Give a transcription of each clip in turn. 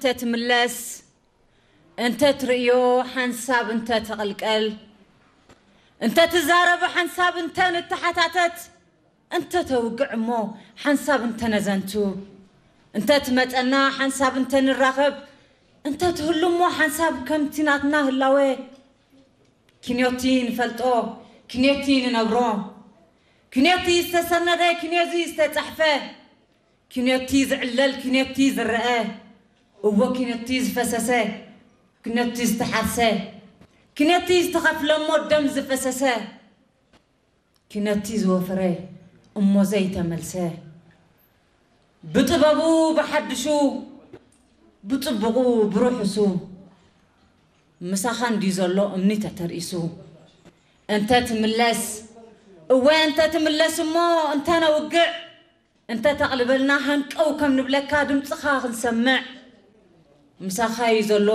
እንተ ትምለስ፣ እንተ ትርእዮ ሓንሳብ እንተ ተቐልቀል፣ እንተ ትዛረብ ሓንሳብ እንተ ንተሓታተት፣ እንተ ተውግዕ እሞ ሓንሳብ እንተ ነዘንቱ፣ እንተ ትመጸና ሓንሳብ እንተ ንራኸብ፣ እንተ ትህሉ እሞ ሓንሳብ ከምቲ ናትና ህላወ፣ ክንዮቲ ንፈልጦ፣ ክንዮቲ ንነብሮ፣ ክንዮቲ ዝተሰነደ፣ ክንዮቲ ዝተጻሕፈ፣ ክንዮቲ ዝዕለል፣ ክንዮቲ ዝረአ፣ እዎ ክንዮቲ ዝፈሰሰ፣ ክንዮቲ ዝተሓርሰ፣ ክንዮቲ ዝተኸፍለ እሞ ደም ዝፈሰሰ፣ ክንዮቲ ዝወፈረ እሞ ዘይተመልሰ፣ ብጥበቡ ብሓድሹ፣ ብጽቡቑ ብርሑሱ፣ ምሳኻ እንድዩ ዘሎ እምኒ ተተርኢሱ። እንተ ትምለስ፣ እወ እንተ ትምለስ እሞ እንተ ነውግዕ፣ እንተ ተቕልበልና ሃንቀው ከም ንብለካ ድምጽኻ ክንሰምዕ። ምሳኻ እዩ ዘሎ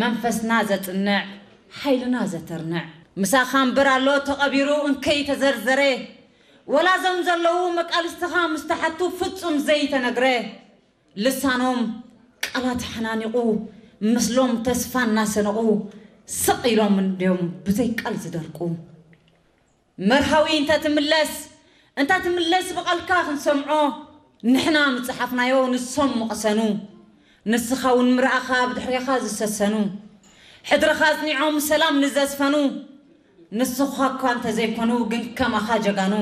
መንፈስና ዘጽንዕ፣ ሓይልና ዘተርንዕ። ምሳኻ እምበር ኣሎ ተቐቢሩ እንከይ ተዘርዘረ። ወላ እዞም ዘለዉ መቃልስትኻ ምስ ተሓቱ ፍጹም ዘይተነግረ። ልሳኖም ቃላት ሓናኒቑ፣ ምስሎም ተስፋ እናሰነቑ፣ ስቕ ኢሎም እንድዮም ብዘይ ቃል ዝደርቁ። መርሃዊ እንተ ትምለስ፣ እንተ ትምለስ ብቓልካ ክንሰምዖ፣ ንሕና ምጸሓፍናዮ ንሶም ምቐሰኑ። ንስኻ እውን ምርኣኻ ብድሕሬኻ ዝሰሰኑ። ሕድርኻ ኣጽኒዖም ሰላም ንዘስፈኑ። ንስኻ እኳ እንተ ዘይኮኑ ግን ከማኻ ጀጋኑ።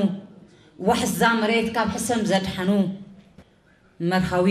ዋሕዛ መሬት ካብ ሕሰም ዘድሓኑ። መርሃዊ።